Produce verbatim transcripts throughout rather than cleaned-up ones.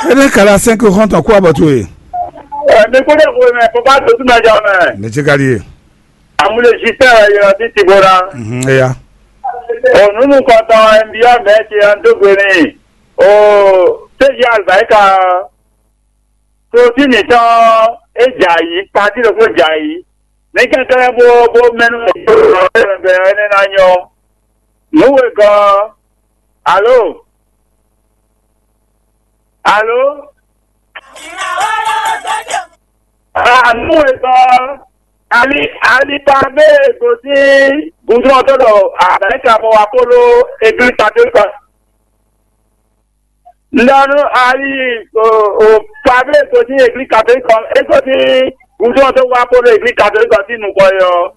Ene kala cinq xɔntɔn kó abɔ towe. Ɛ, mi kúndé xwe mɛ, kó bá dodú mɛ jɔ mɛ. Mɛ tsi ka ɖi ye. Amúlé Justin wɛ yɔ sí Tibora. Mhm, eya. O nunu kɔtɔn ɛ, nbiyɔ mɛ ti ɛ, n dó gbe n'i. O séji alibarika. Klotí mǐtɔn é jɛ ayǐ, patí ɖokpó jɛ ayǐ. Ní kɛnklɛ́n bó bó mɛnú bɛ̌ ɛnɛ ná nyɔ́. Nǔ wegɔ́. Alo? Alo? Ah, nǔ wegɔ́. Ali ali pa bɛ gosín gundrɔn tó ɖɔ Amɛrika bɔ wá kpódó Eglise Katolika. Ndanu ali o o Pablo gosín Eglise Katolika, é gosín gundrɔn tó wá kpódó Eglise Katolika sín nukɔn yɔ.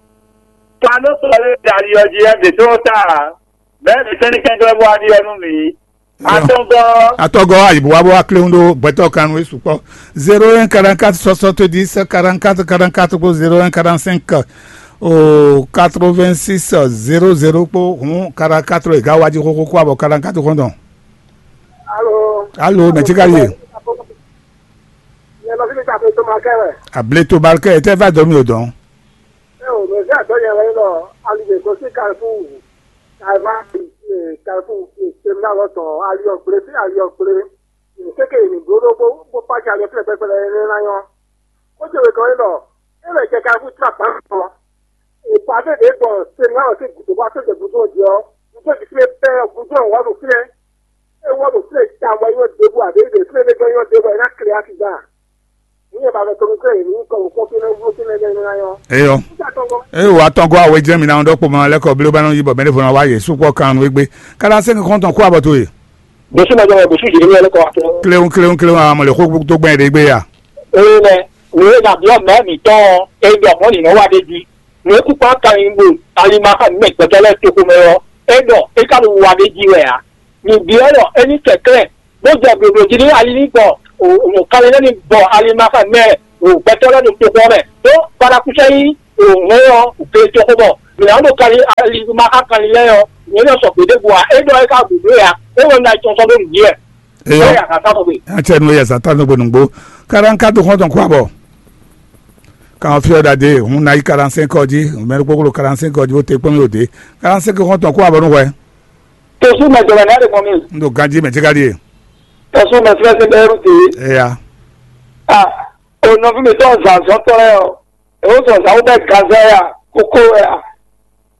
Pablo sɔlé dali ɔ jí ɛ ɖě tó ta. Bɛɛ ɖě sɛn ní kɛnklɛ́n bó wá ɖi ɔ nú mǐ. Atɔngɔ. Atɔgɔ ayibu wa bó wá kléwún ɖó gbɛtɔ́ kan nú é sukpɔ́. Zéro un quarante-quatre soixante-dix quarante-quatre quarante-quatre kpó zéro un quarante-cinq o quatre-vingt-six zéro zéro kpó hǔn quarante-quatre é gǎ wá jí xóxó kó abɔ quarante-quatre xɔ́ntɔn. Alo. Alo, mɛ tsi ka ye? Yɛ nɔ fi mi ta to ma kɛ wɛ. Able to balkɛ, e tɛ va dɔ mi o dɔn. E o, mɛ vi adɔ yɛ wɛ lɔ, ali de ko si kalifu, kalifa, kalifu, terminal lɔ tɔn, ali ɔ gble fi ali ɔ gble. Kéke mi bló ɖó bó bó pàṣẹ ali ɔ fi lɛ kpɛkpɛ lɛ ná nyɔ. Ó jẹ wɛ kɔ é lɔ, é lɛ jɛ kalifu tra gbǎn tɔn. Ìpàdé ɖě gbɔn Senáwɔ sín gǔdo wá sóde gúdo jí ɔ́, gúdo jí flé pɛ́ ɔ́, gúdo ɔ́ wá ɖo flé. É wá ɖo flé ta wá yɔ ɖěbǔ àbí ɖě flé ɖé gbɔn yɔ ɖěbǔ ɔ́, é ná klé Afizá. Ní ɛ ba vɛ tɔnu klé ní kɔ wò kpɔ́n fínɛ́ wú fínɛ́ lɛ́ɛ ná yɔ. Eyɔ. Nígbà tó ń gbọ́. Eye wò atɔngɔ awe jẹ́ mi na ɔ́ ɖɔkpɔ ma lɛ́ kɔ blé ba nɔ yí bɔ mɛɖé fɔ na wá yě sukpɔ́ kan nú égbé. Kára sɛ́n kɔn tɔn kó abɔ towe. Bɛsí ma jɔ wɛ bɛsí yìí ní ɛlẹ́kọ̀ wá tó. Kléwún kléwún kléwún amɔ lè xó tó gbɛn ɖé gbé ya. Ee nɛ, nǔ e nǎ byɔ́ mɛ̌ mǐtɔn ɔ́, é ɖɔ mɔ̌ nǐ nɔ́ wa ɖ'é jí. Nǔ e kúkú ká nyi ɖo alimaxa mǐmɛ gbɛtɔ́ lɛ́ɛ toxo mɛ ɔ́, é ɖɔ é ka ɖo wa ɖ'é jí wɛ ǎ. Mǐ byɔ́ ɖɔ é ní kɛnklɛ́n, bó jɛ blǒblǒ jí nú ali ní gbɔ, o, o, kanlin lɛ́ɛ ní gbɔ alimaxa mɛ, o, gbɛtɔ́ lɛ́ɛ ɖo toxo ɔ́ mɛ. Ɖó Balakúsɛ nyí, o, hɛn ɔ́, gbe toxo bɔ mǐ nǎ ɖo kanlin alimaxa kanlin lɛ́ɛ ɔ́, nyɛ ní sɔgbe ɖěbǔ ǎ. É ɖɔ é ka ɖo nǔ e ǎ, é wɛ un ná yi tɔn sɔ́ ɖó nǔ jí wɛ. Eyɔ. Ó yà kàkà bɔ gbe. Atsɛ nu yɛ zan tɔn nugbo nugbo. Karanka do xɔntɔn kó abɔ. Kan fi ɔda de hun na yi karansen kɔ ji, mɛ kpokplo karansen kɔ ji, o te kpɔn mi o de. Karansen kɔ xɔntɔn kó abɔ nu hwɛ. Tosu mɛ jɔlɛ n'a de mɔ mi. N do ganji mɛ jika die. Tosu mɛ fɛnɛ sin bɛ ru ti. Eya. Ah, o nɔvi mi tɔn zan zɔn tɔ lɛ o. E o zɔn zan wo bɛ gazɛ ya, koko ya.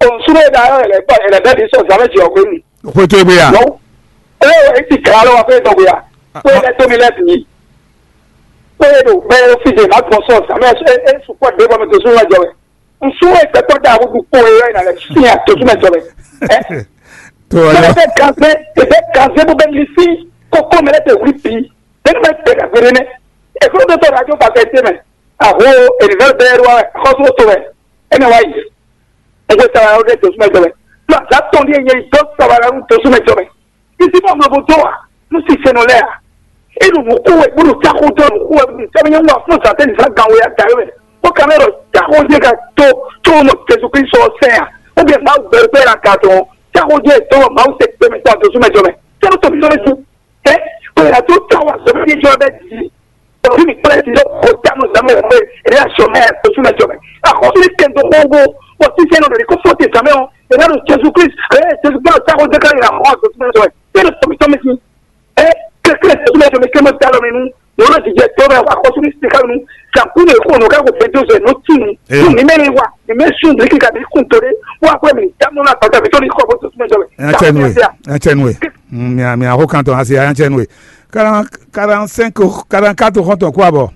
Òun súnú e ɖa ɔ́, è lɛ̌ gbɔ è lɛ̌ bɛ́ ɖě sɔ zǎn mɛ jɛ ɔ́ hwenu. Xwé tó e gbé ya? Nɔ́. Ée é ti glǎ lɔ wá fé dɔn gbe ya? Xwé lɛ́ tó mi lɛ́ bǐ. Xwé e ɖo bɛ́ é fí de má gbɔn sɔ zǎn mɛ é é sukpɔ́ ɖě bɔ mi dǒ súnú wá jɔ wɛ. Un sú é gbɛtɔ́ ɖa wútu kpó e ɔ́ è nǎ lɛ́ sín a dǒ súnmɛ jɔ wɛ. Ɛ? Tó ɔ Bɛ́ lɔ. Bɛ́ gazé, è bɛ́ gazé bó bɛ́ li sí kókó mɛ lɛ́ tɛ wlí bǐ. Bɛ́ ní mɛ tɛ gàgbére nɛ́. È kúrò tó tɔ́ ɖo ajó ba fɛ tɛ́ mɛ. Àhó ènìyàn bɛ́ wá xɔ́sú tó mɛ. Ɛ nɛ wá yi. N ko sara ɖe dǒ súnmɛ jɔ mɛ. Ɖo azǎ tɔn ɖíe nyɛ yi dó sara ɖo dǒ súnmɛ jɔ mɛ. Bísí bá mlɔ bó dó wa nú sinsɛnɔ lɛ́ɛ a? É ɖo nǔ kó wɛ, bó ɖo táxó dó nǔ kó wɛ, bó ɖo sɛbɛn nyɔ́ wá fún zǎtɛn zǎn gan wɛ ata wɛ. Bó ka mɛ ɖɔ táxó jɛ ka tó tó nɔ Jesu Kristu ɔ́ sɛn a? Ó bɛ Mawu gbɛɖu kpɛ la ka tɔn. Táxó jɛ tó Mawu tɛ gbɛmɛ tó a dǒ súnmɛ jɔ mɛ. Sɛbɛn tó mi sɔ́ lé sú. Ɛ, kò yà tó tá wà sɔmɛ ní jọ bɛ di. Òbí mi kpɛlɛ ti lọ kó tá mo zàmú ẹ̀ pé èdè àṣọ mẹ́ ẹ̀ tó súnmọ́ jọ mẹ́. Àkọsílẹ̀ kẹ́ńtọ́ kóńgó wọ́n ti sẹ́nu lòdì kó fọ́ọ̀tì zàmú ẹ̀ ọ̀. Èdè àdó Jésù Kristu, ẹ̀ Jésù Kristu táwọn jẹ́ káyọ̀ àwọn àtọ̀ súnmọ́ jọ mẹ́. Bẹ́ẹ̀ ni tọ́mí tọ́mí sí. Ẹ, kẹ́kẹ́ tó súnmọ́ jọ mẹ́ kí ẹ mọ́ dá lọ mi nú. Lọ́nà jíjẹ tó bẹ́ẹ̀ àkọsílẹ̀ ti ká mi nú. Sàkúnú èkó ọ̀nà káko fẹ́ Jésù ẹ̀ ló tì mí. Eyɔ. Fún mi mẹ́rin wà, mi mẹ́ sùn bí kíkà bí kùn tó dé. Wọ́n á pẹ́ mi dámúná tọ́jà mi tó ní kọ́ bó tó súnmọ́ jọ mẹ́. Ẹ tẹnu ẹ, ẹ tẹnu ẹ. Mi mi àkókò kan tó wá sí ẹ tẹnu ẹ. Quarante-cinq, quarante-quatre xɔntɔn kó abɔ.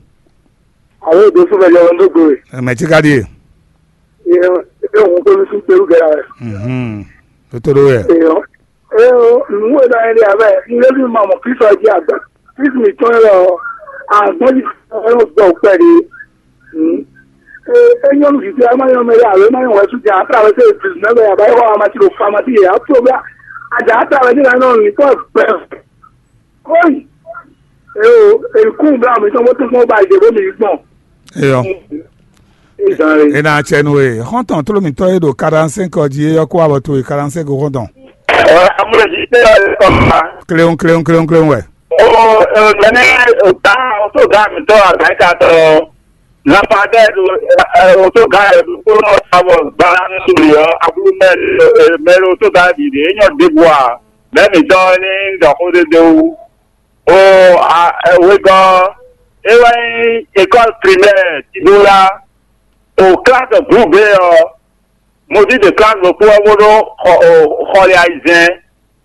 Alo, dosu bɛ jɔ ndo gbe. Mɛ ti ka di ye. Ye ye hun ko nusu peru gɛ la. Mhm. Totoro yɛ. Eyo. Eyo, nu wo da ye abɛ. Nge bi ma mo Kristo ji agba. Kristo mi tɔn lɔ. Agbɔn ji o gbɔ pɛ de. Hmm. E e nyɔnu vivi ama nyɔ mɛ ya alo ma nyɔ wɛ su ja atra wɛ se dix-neuf ya ba yɔ ama ti lo fama ti ya problème. Aja atra wɛ ni la nɔ ni ko pɛ. Kóyì. Eo, èkún bla mi tɔn bó tún fún ba ìdè bó mi gbɔn. Eyɔ. Ìzàn rè. E na tsɛ nu e xɔntɔn tló mi tɔ e ɖo quarante-cinq ɔ jí e yɔ kó abɔ to e quarante-cinq xɔntɔn. Ɔ amúlẹ̀jì tẹ́ ẹ kọ́ ma. Kléwún kléwún kléwún kléwún wɛ. O, o, nɛnɛ, o ta, o tó gǎ mǐtɔn Amɛrika tɔn ɔ́, Lapadɛ ɖo, o tó gǎ ɖokpó nɔ sa bɔ gbalanu suli ɔ́, ablumɛ, mɛ ɖo tó gǎ ɖiɖe, é nyɔ ɖěbǔ a, mɛ mǐtɔn ní ɖɔ xó ɖé ɖé wú. O, a, wegɔ́, é wɛ nyí école primaire Tibola, o classe groupe B ɔ́, Mozízi klán ɖokpó ɔ́ bó ɖó xɔ xɔlɛ ayizɛ́n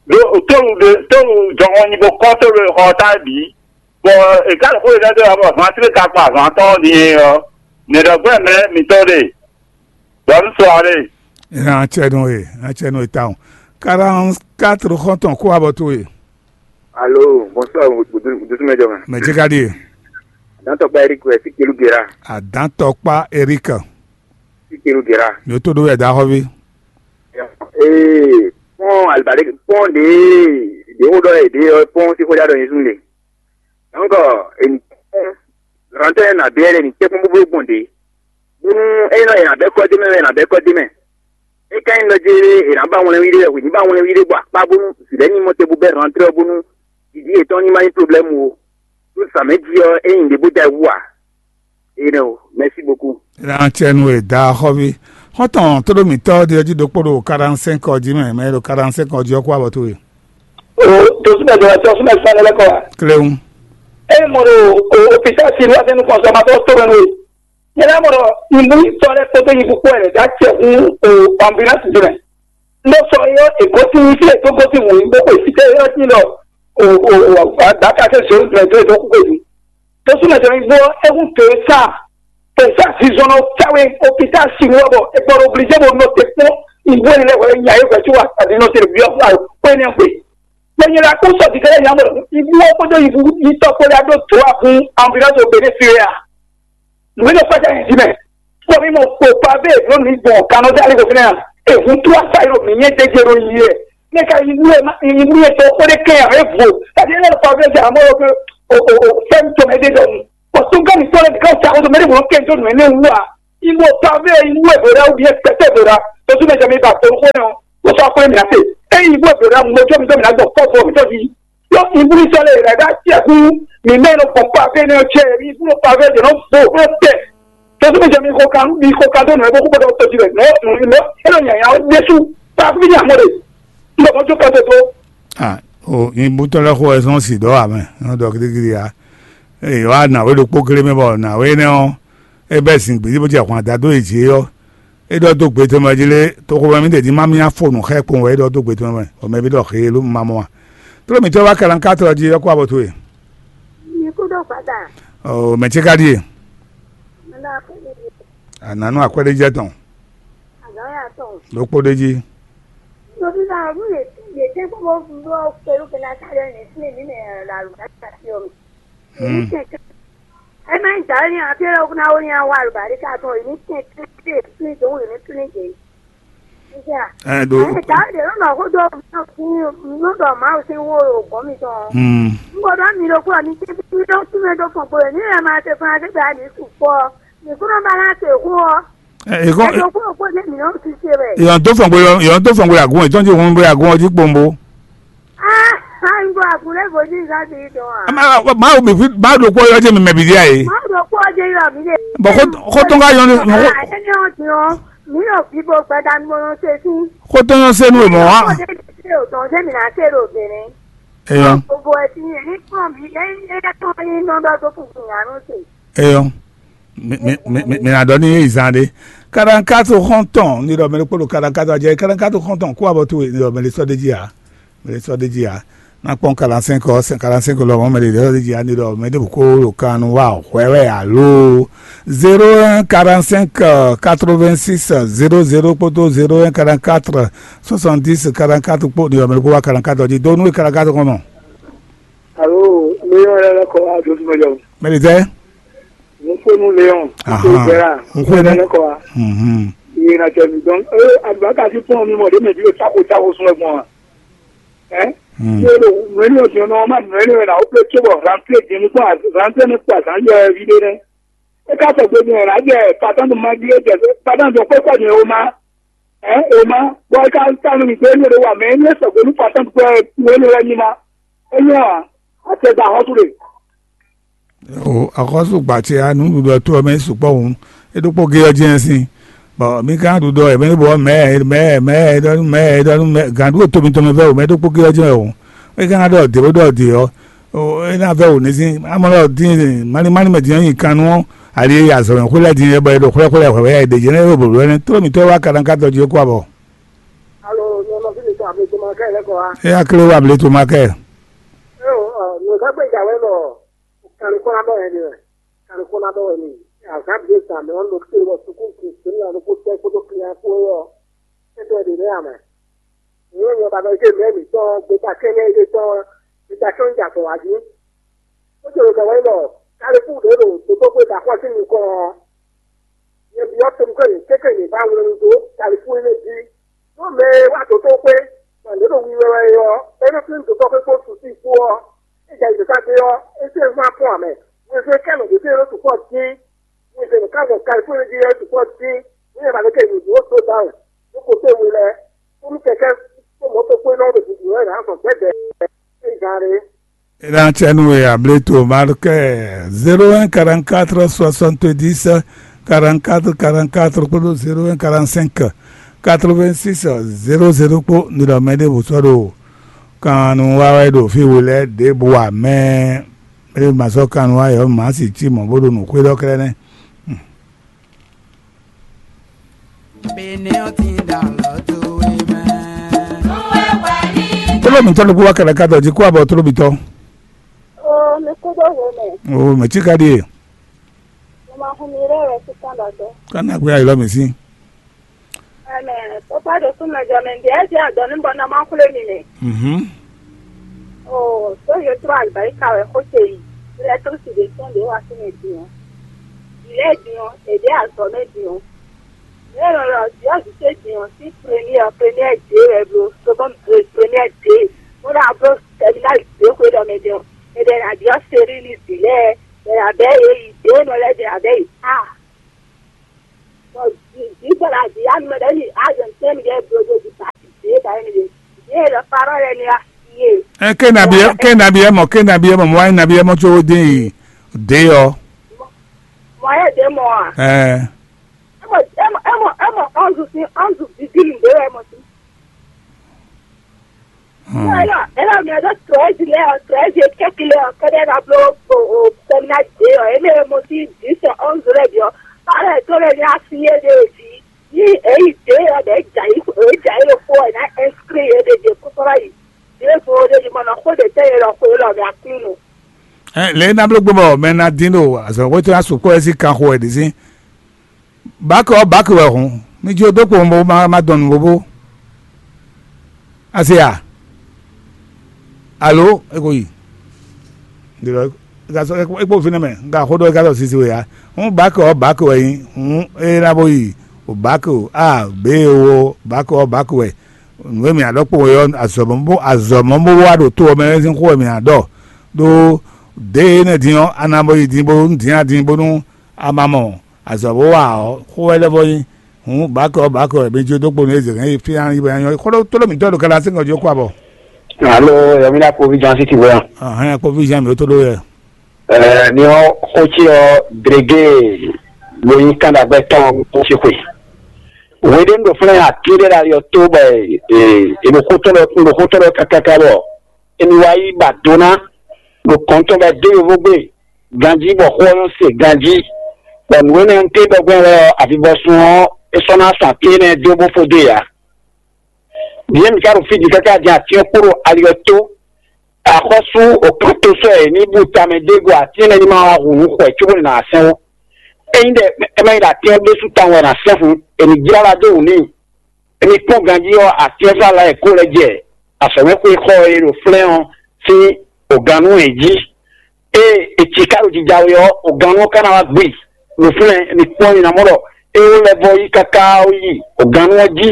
ɖó tólu ɖé tólu jɔhɔn nyi bó kɔ́ tólu e xɔ ɔ́ ta bǐ, bɔ è ka ɖo xó ɖé ɖɔ bɔ hwanslé ka kpa hwantɔ́ ɔ́ din é ɔ́, nɛ̌ɖɔgbɛ́ mɛ mitɔ́ ɖe, bɔ un sɔ ɔ́ ɖe. Ina acɛ nú e, acɛ nú e tawun. Quarante-quatre xɔ́ntɔn kó abɔ towe. Alo, bonsoir, Dusumɛjɔ mɛ. Mɛ ce ka ɖie? Dantɔkpa Eric wɛ, Sikelu Gera. Adantɔkpa Eric. Sikelu Gera. Yótó ɖó wɛ daxɔvi. Ee, pɔn alibali pɔn ɖe ɖe wo ɖɔ ɖe ɔ pɔn si xɔjá ɖɔ nyɛ sun ɖe. Donc, eni rantɛ na bɛ ɖe ni tɛkun bublo gbɔn ɖe. Bonu eni nɔ ena bɛ kɔ de mɛ, ena bɛ kɔ de mɛ. E ka yin lɔ je ena ba wlɛn wi ɖe, wi ni ba wlɛn wi ɖe bɔ akpa bonu zilɛ ni mɔ te bu bɛ rantɛ bonu didi etɔn ni ma yin problème o. Tout ça mɛ di ɔ, e yin ɖe bo da wu a. Ene o, merci beaucoup. Ena cɛ nu e da xɔvi. Xɔtɔn to ɖo mitɔ di ɔji ɖokpo ɖo quarante-cinq ɔ ji mɛ, mɛ ɖo quarante-cinq ɔ ji ɔ kó abɔ towe. O, to súnmɛ dɔrɔn tɔ súnmɛ fún alẹ́ kọ́ wa. Klewu. Eye mɔ ɖo o opita si ló wá sínú kɔnsɔmatɔ tó mɛ nú e. Nyɛ lɛ́ mɔ ɖɔ nyibú tɔ lɛ́ kpódó nyibú kpó wɛ lɛ dá cɛ hún o ambulance din mɛ. Ndó sɔ yɔ ègósí fí ètò gósí wò yí bó kwe fítɛ́ yɔ sí lɔ o o o daka ke zoro gbɛ tó ètò kúkwe dùn. Tó súnmɛ tɛnɛ gbó égún tó e sá e sá zizɔn nɔ táwé opita si wɔ bɔ e gbɔdɔ obligé bo nɔ te kpɔn ìwé ni lɛ wɛ nya yé wɛ tí wà àdínɔ tẹlɛ bí ɔkú àyò kpé ní ẹgbẹ́. Gbẹ̀yìn la kó sọ dìgẹ́lẹ́ yà mọ̀ ìbú wọn kpódó ìbú yìí tọ́ kpódó adó tó wà fún ambulance obìnrin fi rẹ̀ à. Nùgbé ló kọjá yìí jí mẹ́. Kpɔ́ mi mɔ kpó kpá bẹ́ẹ̀ ló mi gbɔn kanɔ dé alẹ́ kò fínẹ́ à. Èhun tó wá sáyé ló mi nyẹ́ dédé ló yí ẹ̀. Mɛ ka yi nú ɛ ma yi nú ɛ tɔ kpó ɖé kɛ ɛ vo. Tàbí ɛ lọ pa bẹ́ẹ̀ jà mọ́ ɔ pé o o o fɛn tɔ mɛ ɖé dɔ nu. Bɔ tó gán mi tɔ lɛ ká sa o tó mɛ ɖé mɔ kɛ tó nù ɛ ní wú a. Ibo pa bẹ́ẹ̀ inú ẹ̀ bẹ̀rẹ̀ wú yẹ pẹ̀tẹ́ bẹ̀rẹ̀. Tó tún bẹ jẹ mi ba tó kó nẹ o. Kó sọ pé mi na se. Ẹ ibo ẹ̀ bẹ̀rẹ̀ mo jọ mi jọ mi na gbọ̀ kọ́ bọ̀ mi tọ́ di. Yɔ ìbúnisɔ lè rẹ̀ dá tiẹ̀ kú. Mi mẹ́ lọ kàn pa fẹ́ ní ọjọ́ mi fún pa fẹ́ jẹ̀ náà bò ó tẹ̀. Tọ́sí mi jẹ́ mi kó kan mi kó kan tó nù ẹ́ bó kó gbọ́dọ̀ tọ́jú rẹ̀ nọ́ nù nù ẹ́ lọ yàn yàn ó dé sú. Pa fún mi ní àmọ́ rẹ̀. N bọ̀ mọ́jú kan tó tó. Ah, o yin butɔ lɛ xo ɛsɔn si dɔ amɛ nɔ dɔ gidigidi ya. Eye wa na we ɖokpó kele mɛ bɔ na we nɛ ɔ. E bɛ zin gbedi bó jɛ hwan da dó e jí ɔ. E ɖɔ dó gbe tɔn mɛ jí lé, toxo mɛ mi ɖe ní ma mía fo nǔ xɛ kpɔn wɛ e ɖɔ dó gbe tɔn mɛ, bɔ mɛ bí ɖɔ xe ló ma mɔ a. Tló mǐtɔn wá kalankátlɔ jí ɔ́ kó abɔ towe. Mi kú ɖo gbada. Ɔ mɛ ce ka ɖie. Mɛ la kú ɖo. Ananu akwɛɖe jɛ tɔn. Azɔn ya tɔn. Ɖokpó ɖe jí. Tobi la ɔnu ye ye tɛ kpɔ bɔ bɔ pelu kɛ na sa ɖe ne fi mi ne la lu ka ta fi o mi. Hmm. Ema ŋdza wɛ nyi afi lɔ kuna wo nya wa albarika tɔn yi ni tɛ tɛ tɛ tuni dɔn yi ni tuni dze. Ɛ do. Ɛ ta de lɔ nɔ ko do no fi no dɔ ma o si wo o gɔn mi tɔn. Hmm. N ko dɔ mi lo ko ni tɛ mi do tun do fɔ ko ni ɛ ma te fana te ba ni su kpɔ ni ko no ba na te ko. Ɛ ko. Ɛ do ko ko ne mi no si se bɛ. Yɔn tó fɔn gbé yɔn yɔn tó fɔn gbé agun ɛ tɔn ti hun gbé agun ɔjí kpombo. Ah, ah, n bɔ àgùnlé bò ní ìgbà tí ì dán a. Máa wò mí fún máa dòkú ọyọ jẹ mi mẹbi díà yìí. Má dòkú ọjọ́ yọ mí lè. Bọ̀ kó tó ń ká yọ ní. Ẹni ọ̀dùn ọ́, mi yóò fi bó gbẹ́dá ní mo rán ṣe sí. Kó tó yọ sẹ́nu ìmọ̀ wá. Ọmọdé ti ṣe òtàn ṣé mi náà ṣe rò obìnrin. Èèyàn. Gbogbo ẹ̀ ti yẹn ní pọ̀ mí, ẹ ẹ tó ní nọ́mbà tó kù kù yàrá ṣe. Èèyàn. Mi mi mi mi mi na dɔ ni ye zan de. Karankato xɔntɔn ni dɔ mɛ ɖokpó ɖo karankato adze karankato xɔntɔn kó abɔ towe ni dɔ mɛ ɖe sɔ de dzi ya. Mɛ ɖe sɔ de dzi ya. Na kpɔn quarante-cinq ɔ, quarante-cinq lɔ mɔ mɛ ɖe sɔ de dzi ya ni dɔ mɛ ɖe ko ɖo kan nu wa hwɛ wɛ alo zéro un quarante-cinq quatre-vingt-six zéro zéro kpódó zéro un quarante-quatre soixante-dix quarante-quatre kpó ni dɔ mɛ ɖe ko wa quarante-quatre dzi do nu karankato kɔnɔ. Alo, mi yɔ lɛ lɛ kɔ wa do sumɛ jɔ. Mɛ ɖe tɛ. Nukunu Leon, Aha. Nukunu Bɛra, Nukunu. Nukunu Kɔwa. Mhm. Iye na tɛ mi dɔn. Ee, alibaka si pɔn mi mɔ de mɛ bi o tako tako sun ɛgbɔn wa. Ɛ? Mm. Iye lo mɛ ni o diɔ nɔ ma mɛ ni o na o pe tso bɔ rantre jɛ mi kpɔ rantre mi kpɔ azan yɔ ɛ vi de nɛ. E ka sɔ gbe mi ɛ na jɛ patan do ma di e jɛ patan do kpɛ kɔ mi o ma. Ɛ o ma. Bɔ e ka ta nu mi gbe ni o de wa mɛ ni e sɔ gbe nu patan do kpɛ o ni o lɛ ni ma. E nyɔ wa. Acɛ da xɔ́sú ɖe. O axɔ́sú gbacɛ ya nǔɖuɖu ɔ́ tó ɔ́ mɛ sukpɔ́ hǔn, é ɖokpó gé ɔ́ jɛ́n sín. Bɔ mi ka ɖu ɖɔ ɛmɛ bɔ mɛ mɛ mɛ ɖɔnu mɛ ɖɔnu mɛ gǎn ɖu to mitɔn mɛ vɛ o mɛ ɖokpó gé ɔ́ jɛ́n wɛ o. É ka ná ɖɔ dě bó ɖɔ dě ɔ́, é ná vɛ o ní sín amɔ ɖɔ dín mali mali mɛ dín ɔ́ nyi kan nú ɔ́, ali e yi azɔ̌mɛ xwé lɛ́ɛ din é bɔ é ɖo xwlɛ́xwlɛ́ hwɛ̌ é ɖě jɛ́n é ɖo blǒbló ɛnɛ tló mitɔ́ wá ka ná ka dɔ jí é kú abɔ. Alo, nyɔnɔ fi mi tɔn able to ma kɛ lɛ kɔ wa. É ná klé wá able to ma kɛ. É o, nǔ ka gbé jà wɛ lɔ. Kanu kó ná ɖɔ wɛ ni wɛ. Kanu kó ná ɖɔ wɛ ni. Azǎn bǐ zǎn mɛ ɔ́, ɖo kpé bɔ sukúlu kún sɛ́n nya ɖokpó tɛ́ kpódó klinya kpó é ɔ́, é ɖɔ ɖě nɛ́ ǎ mɛ. Nǔ e nyɔ ba ɖɔ ké mɛ mǐtɔn gbeta kɛ́nɛ́ é tɔn gbeta kɛ́nɛ́ ja tɔn wá jí. Ó jɛ ɖo ɖɔ wɛ ɖɔ Kalifú ɖě ɖo dotóxwé da xɔ sín nukɔn ɔ́, nyɛ byɔ́ tɔn kɛ́ yě kéké yě ba wlɛ́ nu dó Kalifú énɛ́ jí. Nú mɛ e wá dotóxwé, bɔ yě ɖo wiwa wɛ é ɔ́, é nɔ flín dotóxwé kpó susi kpó ɔ́, é jɛ ayǐjínjɔ́n ɔ́, é sɛ́ nú afɔ́n ǎ mɛ. Wezun e kɛ́ nɔ ɖě ɖo sukpɔ́ dín, wezun e nɔ ká gbɔn Kalifóni jí ɔ́ sukpɔ́ dín, nú yɛ ba lě kɛ nǔ dó dó dó awu, ɖó kotó we lɛ́ɛ, kpódó kɛkɛ́ kpó mɔ̌to kpó nɔ ɖo bǔbú wɛ nǎ zɔn gbɛ́gbɛ́ é gán ɖé. Eɖancɛnu e ableto markɛ zéro un quarante quatre soixante dix quarante quatre quarante quatre kpódó zéro un quarante cinq quatre vingt six zéro zéro kpó nilɔmɛ ɖěvo sɔ́ ɖo kan nu wa wɛ ɖo fí we lɛ́ɛ ɖěbǔ ǎ mɛ. Ée ma sɔ́ kan nu wa yɔ̌ mǎ si cí mɔ̌ bó ɖo nǔ xwé ɖɔ kɛ́ɖɛ́ nɛ́. Tlóló mǐtɔn ɖokpó wá kɛlɛ ká dɔ jí kó abɔ tlóló mǐtɔn. Oo, mi kú dó hwe mɛ. Oo, mɛ cí ka ɖíe. Mo ma hun mi ɖé wɛ sí kán ɖɔ dó. Ká ná gbé ayǐ lɔ mǐ sí. Ɛmɛ, papa ɖo súnmɛ jɔ mɛ, ɖi ɛ́ jɛ adɔ ní bɔ ná má xwlé mi mɛ. Mhm. Oo, tó yě tró alibáríkà wɛ xó ce yi. Électricité ɖě wá sí mɛ din ɔ́. Vǐ lɛ́ɛ din ɔ́, è ɖě azɔ̌ mɛ din ɔ́. Yě nɔ ɖɔ Diɔ́ vǐ ce din ɔ́, sín première, première J wɛ bló, seconde, première J. Bó ná bló terminale J xwé ɖɔ mɛ din ɔ́, è ɖɛ ná Diɔ́ série ní vǐ lɛ́ɛ, è nǎ bɛ́ yě yi, ɖě nɔ lɛ́ɛ ɖe ná bɛ́ yi A. Ɛ, ke nabi ɛ, ke nabi ɛ mɔ, ke nabi ɛ mɔ, mɔ wá nabi ɛ mɔ tso dé yi dé ɔ. Mɔ yɛ dé mɔ a? Ɛ. Ɛ mɔ, ɛ mɔ, ɛ mɔ, ɛ mɔ, ɔnzu sin, ɔnzu bibili dé wɛ mɔ sin. Hmm. Ela, ela mi ado treize lɛ ɔ, treize kɛki lɛ ɔ, kɛdɛ na blo o, o, sɛmina dé ɔ, eme mo si dix ɔnzu lɛ bi ɔ, parɛ to lɛ ni asi ye de vi. Ni eyi dé ɔ, bɛ dza yi, e dza yi lo fo ɔ, na inscrit ye de de kɔsɔrɔ yi. Ye fo de di mɔnɔ ko de tɛ ye lɔ ko lɔ mi akli nu. Ɛ, lě e ná bló gbé bɔ mɛ ná dín ɖo azɔ̌xwé tó ná sukpɔ́ ɛ sín kanxo wɛ ɖě sín. Bákɛ ɔ́, bákɛ wɛ hǔn, mi jó dó kpowun bó má má dɔn nǔ bóbó. A se a? Alo, é ko yi. Ɖe lɔ, é ka sɔ́, é kpo fínɛ́ mɛ, un ka xó ɖɔ é ka sɔ́ sisi we ǎ. Hǔn bǎkɛ ɔ́, bǎkɛ wɛ nyí, hǔn é ná bó yi, o bǎkɛ o, a, bě e wo, bǎkɛ ɔ́, bǎkɛ wɛ. Nǔ e mǐ ná ɖɔ kpowun é ɔ́, azɔ̌ mɔ bó, azɔ̌ mɔ bó wá ɖo to ɔ́ mɛ sín xó wɛ mǐ ná ɖɔ. Ɖó dě énɛ́ din ɔ́, a ná bó yi din bó dín a din bónú a ma mɔ azɔ̌ bó wa ɔ́, xó wɛ lɛ́ vɔ nyí. Hǔn bǎkɛ ɔ́, bǎkɛ wɛ mi jó dó kpo nú Ezegɛ́n e fí ná nyí bɔ é nyɔ́ xó ɖó tlóló mǐtɔn ɖo Galasi ŋɔ jó kú abɔ. Alo, yɔmina kpovi Jean Siti bɔ. Ahɛn kpovi Jean mi tó ɖó yɛ. Ɛɛ, ni ɔ xó ce ɔ drege lo nyi kan ɖagbɛ tɔn xó ce xwe. Wěɖé ɖo flɛ́n aké ɖé ɖo ali ɔ́ tó bɔ è ɖo xó tɔn ɖɔ, ɖo xó tɔn ɖɔ kákáká bɔ è nɔ wá yi ba do ná ɖo kɔn tɔn bɔ é dó yovógbe ganjí bɔ xó ɔ́ nɔ se ganjí. Bɔ nǔ énɛ́ ɔ́, un téɖɔgbɛ́n lɛ́ɛ ɔ́, avivɔsun ɔ́, é sɔ́ ná sa té énɛ́ dó bó fó dó e ǎ. Bǐ mǐ ka ɖo fí din káká din atín ɔ́ kpó ɖo ali ɔ́ tó. Axɔ́sú òkánto sɔ́ è ní bú tamɛ dó go atín énɛ́ ní ma wá hu nǔ xɔ ɛ cóbó nɔ ná sɛn ó. Ényí ɖɔ é má nyí ɖɔ atín ɔ́ ɖésú tawun wɛ è nǎ sɛn hǔn, è nǐ jlá ɖa dó wǔ n'i. Emi kpɔ́n ganjí ɔ́, asyɛ́nsá lɛ́ɛ e kó lɛ́ jɛ azɔ̌mɛxwé xɔ e ɖo flɛ́n ɔ́ sín ogannú yě jí. Ée è ci ká ɖo jija we ɔ́, ogannú ɔ́ ka ná wá gbe. Nǔflɛ́n, mi kpɔ́n mi ná mɔ ɖɔ é wó lɛ́ vɔ́ yí káká yi ogannú ɔ́ jí.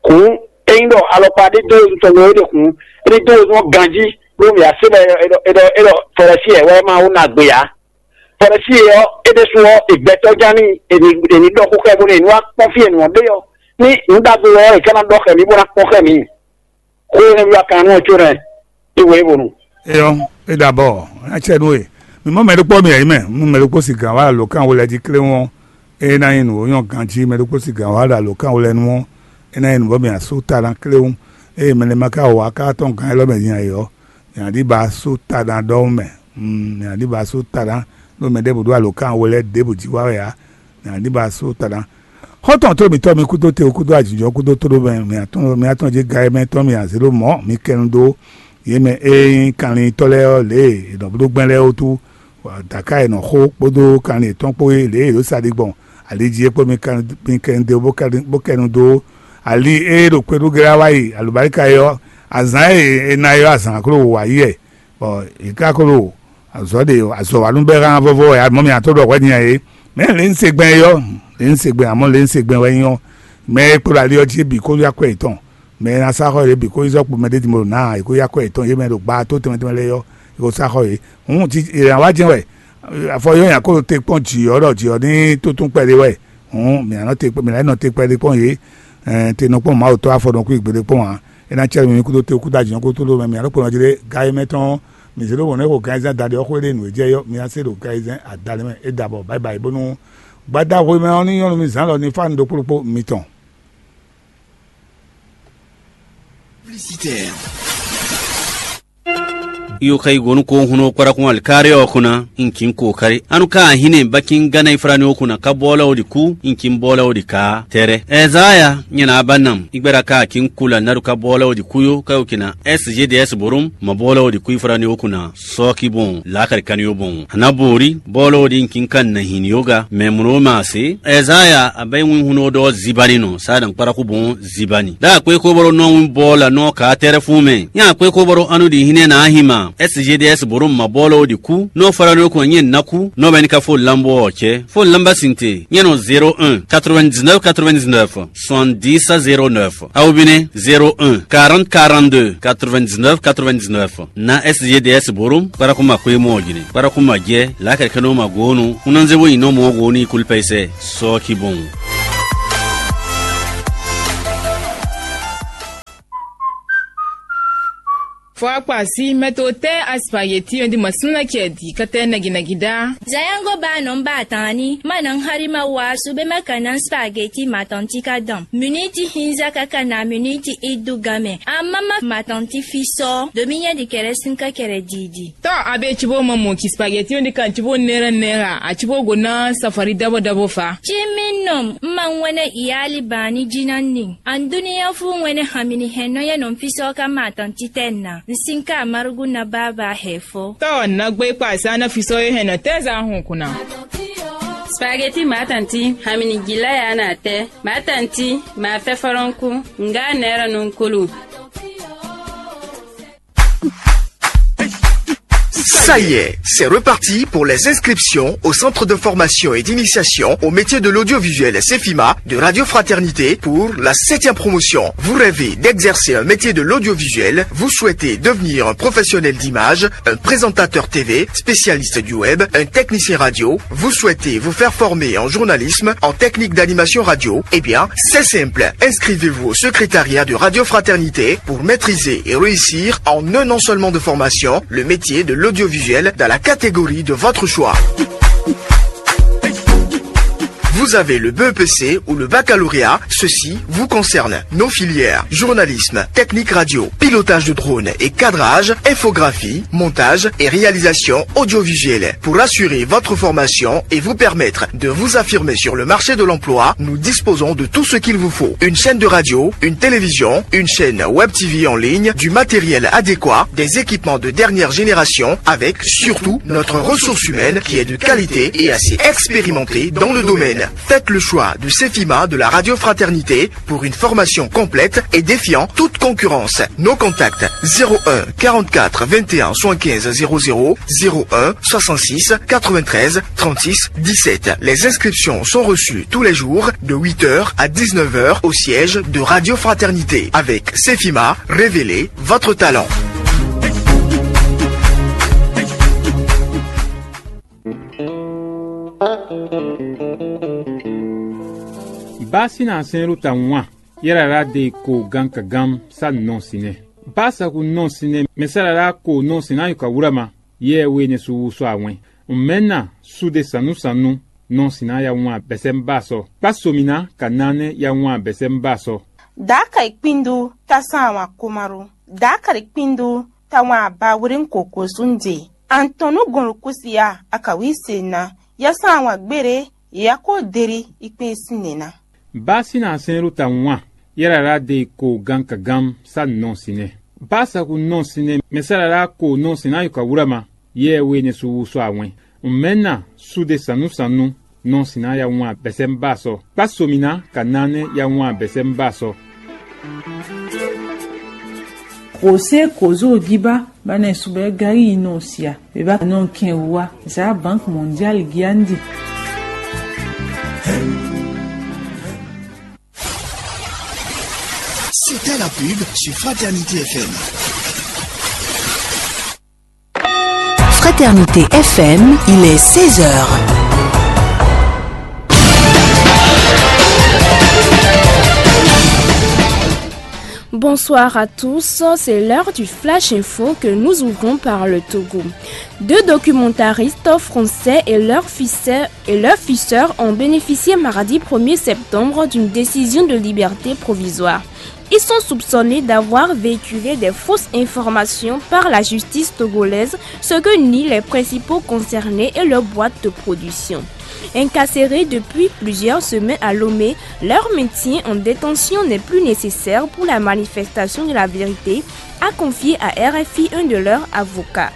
Hǔn, ényí ɖɔ alɔkpa ɖé dó wezun tɔn ɖó é ɖe hǔn, é ní dó wezun ɔ́ ganjí, ɖó mǐ wá se bɔ è ɖɔ è ɖɔ è ɖɔ Fɔlɛ́si wɛ má wó ná gbe ǎ. Fɔlɛ́si ɔ́, é ɖésú ɔ́, è gbɛtɔ́ ján n'i, è ní è ní ɖɔ xó xá ɛ bónú è ní wá kpɔ́n fí e nǔ ɔ́ ɖe ɔ́. Ní nǔ ɖagbe wɛ ɔ́, è ka ná ɖɔ xɛ mǐ bó ná kpɔ́n xɛ mǐ. Xó énɛ́ wí wá kan nú ɔ́ có nɛ́, é wɛ é wonu. Eyɔ, É ɖo abɔ, é ná cɛ nú we. Mi mɔ mɛ ɖokpó mi yɛ̌yi mɛ, nú mɛ ɖokpó si gǎn wá alǒkan we lɛ́ɛ jí kléwún ɔ́, é ná nyí nǔ e nyɔ́ ganjí. Mɛ ɖokpó si gǎn wá ɖo alǒkan we lɛ́ɛ nu ɔ́, é ná nyí nǔ bɔ mǐ ná sú ta ná kléwún. Ée mɛ lɛ́ɛ ma ka wá ká tɔn gǎn élɔ́ mɛ din ǎ é ɔ́, mǐ ná ɖi ba sú ta ná ɖɔhun mɛ. Mǐ ná ɖi ba sú ta ná, ɖó mɛ ɖěbǔ ɖó alǒkan we lɛ́ɛ ɖěbǔ jí wá wɛ ǎ. Mǐ ná ɖi ba sú ta ná. Xɔ́ntɔn tó mǐtɔn mi kúdó te kúdó ajǐjɔ kúdó tóɖó mɛ, mǐ atɔn mǐ atɔn jí ga e mɛ tɔn mǐ azě ɖo mɔ̌ mi kɛnu dó. Yě mɛ e nyí kanlintɔ́ lɛ́ɛ ɔ́, lě e è nɔ bló gbɛn lɛ́ɛ wútu, dǎká e nɔ xó kpódó kanlin yětɔn kpó é, lě e è ɖǒ sa ɖi gbɔn ali jí é kpó mi kɛnu dó bó kɛnu dó ali e ɖo kpé ɖu glá wá yi alubáríka é ɔ́, azǎn e è na é ɔ́, azǎn klo wǒ wá yi wɛ, bɔ è ka klo azɔ̌ ɖe azɔ̌ wa nú bɛ́ hán vɔ́vɔ́ wɛ amɔ̌ mi ató ɖɔ hwɛ̌ din ǎ é. Mɛ̌ lě ń se gbɛn é ɔ́, lě ń se gbɛn amɔ̌ lě ń se gbɛn wɛ nyí ɔ́, mɛ e kpo ɖo ali ɔ́ jí é bǐ kó yá kwɛ yětɔn. Mɛ e ná sá xɔ yě bǐ kó yi zɔ́ kpo mɛ ɖé din bó ɖo nǎ, è kó yá kwɛ yětɔn, yě mɛ ɖo gbaa tó tɛnmɛ tɛnmɛ lɛ́ɛ ɔ́, è ko sá xɔ yě. Hǔn è nǎ wá jɛ́n wɛ, afɔ yɔ́ nyi akólo te kpɔ́n jǐ ɔ́ ɖɔ jǐ ɔ́ ní túntún kpɛɖé wɛ. Hǔn mǐ ná nɔ te mǐ ná nɔ te kpɛɖé kpɔ́n yě. Te nɔ kpɔ́n Mawu tɔ́ afɔ nɔ kú gbeɖé kpɔ́n ǎ. É ná cɛ mi kúdó te kúdó ajǐ ɔ́ kúdó lómɛ mǐ ná ɖo kplɔ́n jí ɖé. Ga e mɛ tɔn mǐ zé ɖó wɔ̌n nɛ́ xo ganzɛ́n adaɖé ɔ́ xwé ɖé nǔ e jɛ yɔ́ mi ná se ɖo ganzɛ́n adalɛ mɛ é ɖabɔ báyibáyi bónú gbada hwemɛ ɔ́ ní nyɔ́ nú mi zǎn lɔ ní fá nu ɖokpó ɖokpó mitɔn. Iyo ka yi go nú ko hun nɔ kpɔɖɔkun alikari ɔ́ kun ná, n kin ko kari. Anu ka ahin ne bakin gana ifrani o kun na ka bɔlɛ o di ku, n kin bɔlɛ o di ka tɛrɛ. Ɛzaya nyɛ na ba nam, igbɛda ka kin ku la naɖu ka bɔlɛ o di ku yo ka yo kina S G D S borum, ma bɔlɛ o di ku ifrani o kun na sɔki bon, lakari kani yo bon. Ana bori bɔlɛ o di n kin kan na hin yoga, mɛ mro ma se. Ɛzaya a bɛ win hun o dɔ zibani nɔ, sa dan kpɔɖɔkun bon zibani. Da akpé kó bɔrɔ nɔ win bɔlɛ nɔ ka tɛrɛ fún mɛ. Nya akpé kó bɔrɔ anu di hinɛ na ahima. S G D S borom ma bɔlɔ o di ku. Nɔ fara nɔ ko nyɛ na ku. Nɔ bɛ ni ka fo lambo ɔ cɛ. Fo lamba sinte. Nyɛ nɔ zéro un, quatre-vingt-dix-neuf, quatre-vingt-dix-neuf, soixante-dix à zéro neuf. Aw bine zéro un, quarante, quarante-deux, quatre-vingt-dix-neuf, quatre-vingt-dix-neuf. Na S G D S borom. Para kuma kwe mo jine. Para kuma je. La kɛkɛ no ma gonu. Unanze bo ino mo goni kulpa ise. Sɔ ki bon. Fɔ akpa si mɛto tɛ́ aspageti ɔ́ di ma súnna cɛ di kɛtɛ naginagiɖa. Zayango ba nɔ ba tani ma na hari ma wa su be ma ka na spageti ma tɔn ti ka dɔn. Miniti hinza kaka na miniti idu game. Amama ma tɔn ti fi sɔ. Domi nya di kɛrɛ sin ka kɛrɛ didi. Tɔ abe cibo ma mo ki spageti ɔ́ di kan cibo nera nera a cibo go na safari dabo dabo fa. Ci mi nɔ ma ŋwɛnɛ iyali bani jina ni. An duniya fu ŋwɛnɛ hamini hɛn nɔ ya nɔ fi sɔ ka ma tɔn ti tɛ na. N sin ka marugu na baba hɛ fo. Tɔ na gbe kpa sa na fi sɔ ye hɛn nɔ tɛ za hun kuna. Spaghetti matanti hamini gila ya na tɛ. Matanti ma fɛ fɔlɔnku nga nɛrɛ nunkulu. Ça y est, c'est reparti pour les inscriptions au centre de formation et d'initiation au métier de l'audiovisuel Cefima de Radio Fraternité pour la septième promotion. Vous rêvez d'exercer un métier de l'audiovisuel, vous souhaitez devenir un professionnel d'image, un présentateur T V, spécialiste du web, un technicien radio, vous souhaitez vous faire former en journalisme, en technique d'animation radio, eh bien, c'est simple. Inscrivez-vous au secrétariat de Radio Fraternité pour maîtriser et réussir en un an seulement de formation le métier de l'audiovisuel dans la catégorie de votre choix. Vous avez le B E P C ou le baccalauréat, ceci vous concerne. Nos filières, journalisme, technique radio, pilotage de drone et cadrage, infographie, montage et réalisation audiovisuelle. Pour assurer votre formation et vous permettre de vous affirmer sur le marché de l'emploi, nous disposons de tout ce qu'il vous faut. Une chaîne de radio, une télévision, une chaîne web T V en ligne, du matériel adéquat, des équipements de dernière génération, avec surtout notre ressource humaine qui est de qualité et assez expérimentée dans le domaine. Faites le choix de Cefima de la Radio Fraternité pour une formation complète et défiant toute concurrence. Nos contacts: zéro un, quarante-quatre, vingt et un, soixante-quinze, zéro zéro, zéro un, soixante-six, quatre-vingt-treize, trente-six, dix-sept. Les inscriptions sont reçues tous les jours de huit heures à dix-neuf heures au siège de Radio Fraternité. Avec Cefima, révélez votre talent. Basi na sẽn ɖo ta ŋwa, yɛ́ ɖaɖa de ko gan ka gán sá nɔ sinɛ. Basa ku nɔ sinɛ mɛ sá ɖaɖa ko nɔ sinɛ ayo ka wúra ma. yɛ we ne su wusɔ awɛn. Mɛna sude sanu sanu nɔ sina ya wan bɛsɛn ba sɔ. Kpa somina ka nane ya wan bɛsɛn ba sɔ. Daka ikpindu ta san wan komaru. Daka ikpindu ta wan abawrin koko sunde. Antonu gonlukusia akawi sena. Ya san wan gbere ya ko deri ikpe sinena. Ba sina sɛnru ta wan. Yɛrɛ la de ko gan ka gan sa nɔ sinɛ. Ba sa ku nɔ sinɛ mɛ sa la ko nɔ sinna yo ka wura ma. Yɛ we ne su wusɔ awɛn. Mɛna sude sanu sanu nɔ sinna ya wan bɛsɛn ba sɔ. Kpa somina ka nane ya wan bɛsɛn ba sɔ. José Kozo Giba ba ne subɛ gari yi nɔ sia. Beba nɔ kɛn wa za Banque Mondiale giandi. C'était la pub sur Fraternité F M. Fraternité F M, il est seize heures. Bonsoir à tous, c'est l'heure du Flash Info que nous ouvrons par le Togo. Deux documentaristes français et leur fils, et leur fils ont bénéficié mardi premier septembre d'une décision de liberté provisoire. Ils sont soupçonnés d'avoir véhiculé des fausses informations par la justice togolaise, ce que nient les principaux concernés et leur boîte de production. Incarcérés depuis plusieurs semaines à Lomé, leur maintien en détention n'est plus nécessaire pour la manifestation de la vérité, a confié à R F I un de leurs avocats.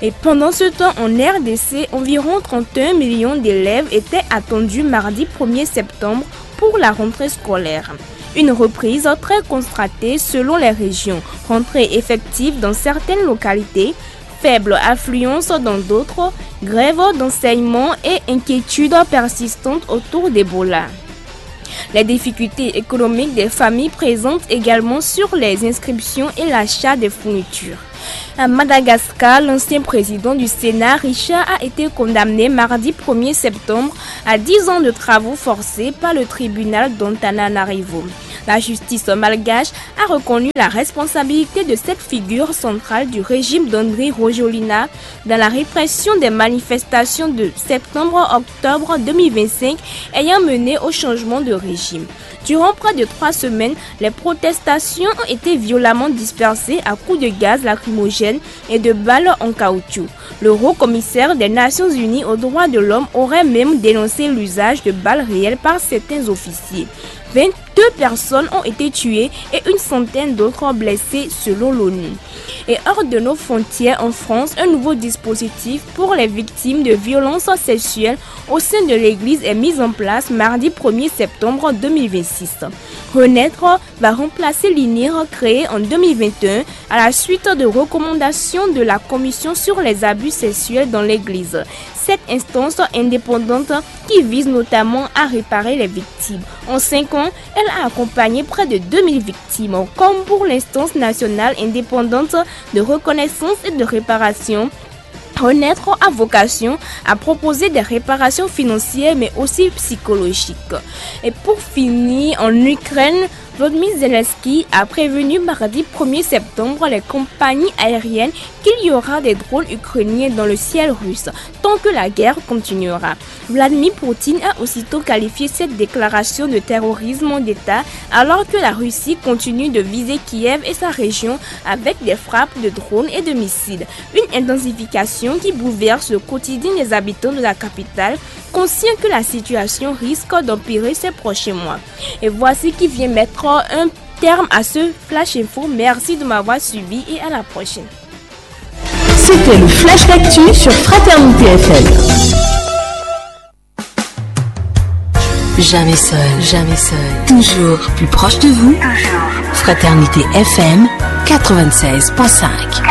Et pendant ce temps, en R D C, environ trente et un millions d'élèves étaient attendus mardi premier septembre pour la rentrée scolaire. Une reprise très constatée selon les régions. Rentrée effective dans certaines localités, faible affluence dans d'autres, grève d'enseignement et inquiétude persistante autour d'Ebola. Les difficultés économiques des familles présentent également sur les inscriptions et l'achat des fournitures. À Madagascar, l'ancien président du Sénat, Richard, a été condamné mardi premier septembre à dix ans de travaux forcés par le tribunal d'Antananarivo. La justice malgache a reconnu la responsabilité de cette figure centrale du régime d'Andry Rajoelina dans la répression des manifestations de septembre-octobre deux mille vingt-cinq ayant mené au changement de régime. Durant près de trois semaines, les protestations ont été violemment dispersées à coups de gaz lacrymogène et de balles en caoutchouc. Le haut commissaire des Nations Unies aux droits de l'homme aurait même dénoncé l'usage de balles réelles par certains officiers. Vingt-deux personnes ont été tuées et une centaine d'autres blessées selon l'ONU. Et hors de nos frontières, en France, un nouveau dispositif pour les victimes de violences sexuelles au sein de l'Église est mis en place mardi premier septembre deux mille vingt-six. Renaître va remplacer l'INIR créé en deux mille vingt et un à la suite de recommandations de la Commission sur les abus sexuels dans l'Église. Cette instance indépendante qui vise notamment à réparer les victimes. En cinq ans, elle a accompagné près de deux mille victimes, comme pour l'instance nationale indépendante de reconnaissance et de réparation. Renaître a vocation à proposer des réparations financières mais aussi psychologiques. Et pour finir, en Ukraine, Volodymyr Zelensky a prévenu mardi premier septembre les compagnies aériennes qu'il y aura des drones ukrainiens dans le ciel russe tant que la guerre continuera. Vladimir Poutine a aussitôt qualifié cette déclaration de terrorisme d'État alors que la Russie continue de viser Kiev et sa région avec des frappes de drones et de missiles. Une intensification qui bouleverse le quotidien des habitants de la capitale, conscients que la situation risque d'empirer ces prochains mois. Et voici qui vient mettre un terme à ce Flash Info. Merci de m'avoir suivi et à la prochaine. C'était le Flash Actu sur Fraternité F M. Jamais seul, jamais seul. Toujours plus proche de vous. Toujours. Fraternité F M quatre-vingt-seize point cinq.